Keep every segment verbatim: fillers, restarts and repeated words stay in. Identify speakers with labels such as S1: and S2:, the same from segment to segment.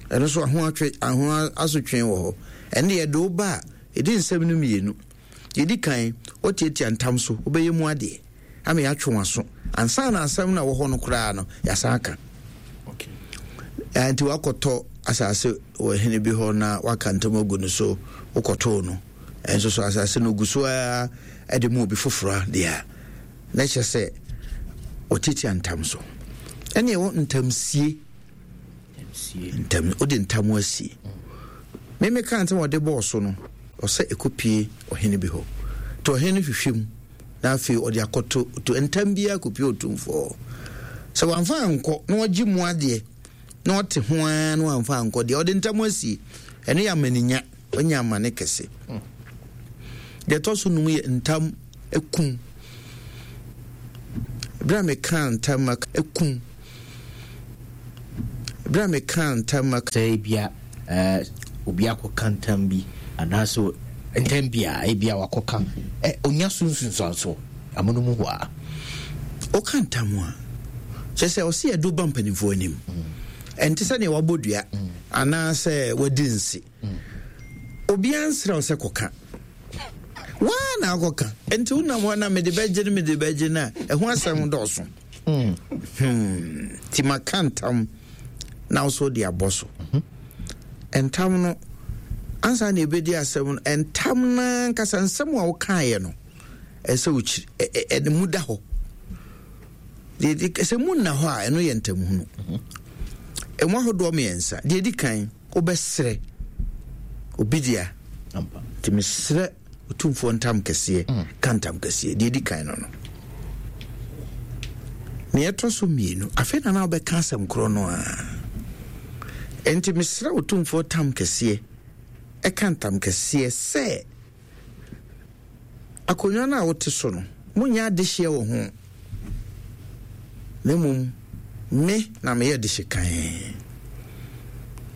S1: Ɛno nso aho atwe aho asotwe wɔ hɔ. Ɛno yɛde wo ba a, ɛdi nsɛm no mmienu. Yɛdi kan, wotiatia ntam so, wobɛyɛ mu adeɛ ama yɛatwe wɔn aso ansa na asɛm no a wɔ hɔ no koraa no yɛasan aka. Nti wakɔtɔ asase wɔ hene bi hɔ na waka ntam agu no so, wokɔtoo no ɛnso so asase no gu so a ɛde mu obi foforɔ deɛ a, na kyerɛ sɛ wɔtiatia ntam so. Ɛne ɛwɔ ntamsie. Ntam, wode ntam asie. Meme ka ntam ɔde bɔɔ so no, ɔsɛ ɛkɔpie ɔhene bi hɔ. Nti ɔhene no hwehwɛ mu na afei ɔde akɔto to ntam biara kɔpie Otumfoɔ. Sɛ wamfa ankɔ na ɔgye mu adeɛ na ɔte ho ara na wamfa ankɔ deɛ, ɔde ntam asie. Ɛno yɛ amaninya, ɔnya amane kɛse. Deɛ ɛtɔ so num yɛ ntam ekum. Berɛ a meka ntam ekum. Berɛ a meka ntam
S2: sɛ ebia ɛɛ obi akɔka ntam bi anaasɛ ntam bi a ebia wakɔka ɛ onya so nsunsuanso amono mu hɔ a.
S1: Woka ntam a, kyerɛ sɛ ɔsɛ yɛde ba mpanimfoɔ anim. Ɛnte sɛ nea wabɔ dua anaasɛ wadi nse. Obiara nsrɛ wo sɛ kɔka. Waa na akɔka. Nti wonam hɔ na mede bɛgye no mede bɛgye no a, ɛho asɛm dɔɔso. Hmm. Nti maka ntam na wo so de abɔ so. Ntam no, ansa na ɛbɛdi asɛm no, ntam no ankasa nsɛm a wokaeɛ no, ɛsɛ wokyiri ɛne mu da hɔ. Sɛ mu nna hɔ a, ɛno yɛ ntamhunu. Ɛmu ahodoɔ mmiɛnsa. Deɛ ɛdi kan, wobɛsrɛ obi dea. Nti mesrɛ Otumfoɔ ntam kɛseɛ, ka ntam kɛseɛ. Deɛ ɛdi kan no no. Nea ɛtɔ so mmienu, afei na na wobɛka asɛm korɔ no a. Enti mesrɛ Otumfoɔ tam kɛseɛ, ɛka ntam kɛseɛ sɛ akonnwa no a wote so no, monyɛ adehyeɛ wɔ ho, na mmom me na meyɛ dehye kan.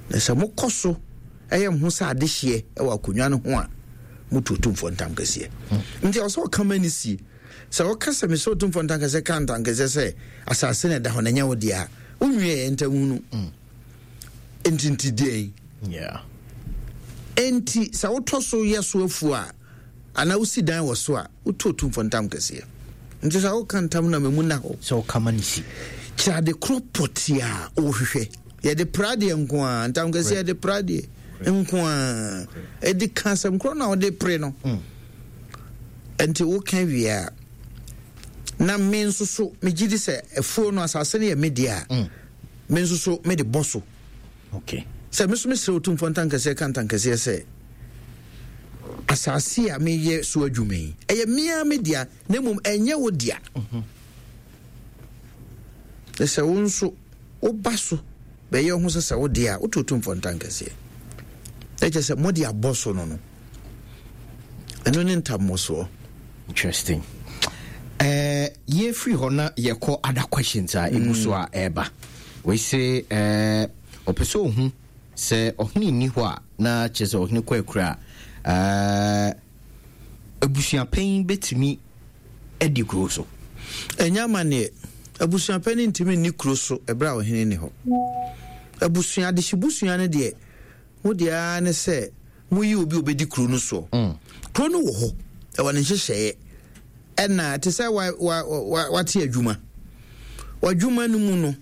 S1: Na sɛ mokɔ so ɛyɛ mo ho sɛ adehyeɛ wɔ akonnwa no ho a, motu Otumfoɔ ntam kɛseɛ. Nti ɛwɔ sɛ ɔka ma ne sie. Sɛ wɔka sɛ mesɛ Otumfoɔ ntam kɛseɛ ka ntam kɛseɛ sɛ asase na ɛda hɔ na ɛnyɛ wo deɛ a, wonwie ntam hunu. Nti nti deɛn? Enti sɛ wotɔ so yɛ so afuo a, anaa wosi dan wɔ so a, wotu Otumfoɔ ntam kɛseɛ. Nti sɛ woka ntam na memu na hɔ.
S2: Sɛ woka ma ne si.
S1: Kyerɛ ade korɔ pɔtee a wohwehwɛ. Yɛde pra deɛ nko a, ntam kɛseɛ yɛde pra deɛ nko a. Ɛde ka asɛm korɔ na wode pere no. Nti woka wie a, na me nso so megye di sɛ afuo no asase no yɛ me deɛ a, me nso so mede bɔ so.
S2: Okay.
S1: Sɛ me nso mesrɛ Otumfoɔ ntankɛseɛ ka ntankɛseɛ sɛ asase a meyɛ so adwuma yi, ɛyɛ mea me dea, na mmom ɛnyɛ wo dea. Na sɛ wo nso woba so bɛyɛ ho sɛ sɛ wo dea a, woto Otumfoɔ ntankɛseɛ. Na kyerɛ sɛ mode abɔ so no no. Ɛno ne ntammɔsoɔ.
S2: Interesting. Uh, yɛfiri hɔ na yɛkɔ other questions a ɛgu so a ɛreba. Wei se uh, ɔpɛ sɛ ɔhu sɛ ɔhene nni hɔ a, na kyerɛ sɛ ɔhene kɔ akura a, uh, abusuapanyin bɛtumi adi kuro so?
S1: Ɛnyɛ amanneɛ. Abusuapanyin ntumi nni kuro so ɛberɛ a ɔhene nni hɔ. Abusua, adehyebusua no deɛ, mo deɛ ara ne sɛ moyi obi a obɛdi kuro no soɔ. Mm. Kuro no wɔ hɔ, ɛwɔ ne nhyehyɛeɛ. Ɛna te sɛ wa, wa, wa, wate adwuma. W'adwuma no mu no,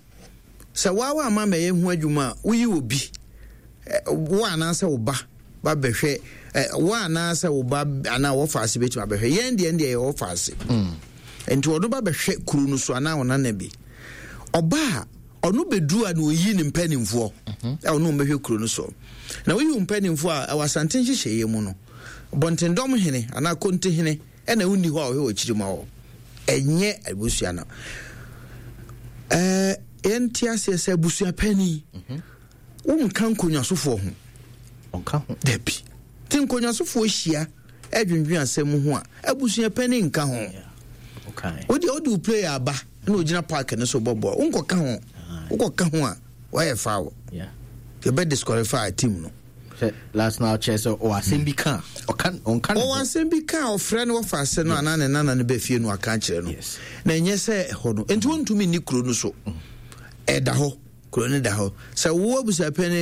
S1: sɛ waa wamma mɛyɛ ho adwuma a, woyi obi, wo anaasɛ wo ba ba bɛhwɛ, wo anaasɛ wo ba anaa wɔfa ase bɛtumi abɛhwɛ. Yɛn deɛ deɛ yɛ wɔfa ase. Mm. Nti ɔno ba bɛhwɛ kuro no so anaa ɔnana bi. Ɔba a, ɔno bɛduru a na ɔyi ne mpanimfoɔ a ɔno bɛhwɛ kuro no so. Na woyi wo mpanimfoɔ a, ɛwɔ Asante nhyehyɛeɛ mu no, Bɔntendɔm hene anaa Konte hene ɛna wonni hɔ a ɔhwɛ wɔ akyiri ma wɔ. Ɛnyɛ abusua no. Ɛɛ yɛnte aseɛ sɛ abusua panin wonka nkonnwasofoɔ ho.
S2: Ɔnka ho.
S1: Dabi. Nti nkonnwasofoɔ hyia ɛdwendwen asɛm ho a, abusua panin nka ho. Wode wode wo player aba na ogyina park no so bɔ bɔɔl, wonkɔka ho. Wokɔka ho a, wɔyɛ foul. Yɛbɛ disqualify team no.
S2: Sɛ last na ɔkyerɛ sɛ ɔwɔ asɛm bi ka ɔka ɔnka ne
S1: ho. Ɔwɔ asɛm bi ka a ɔfrɛ no wɔfa ase no anaa ne nana no bɛ fie no aka akyerɛ no. Na ɛnyɛ sɛ ɛhɔ no. Nti wɔntumi nni kuro no so. Ɛda hɔ. Kuro no da hɔ. Sɛ wo abusuapanin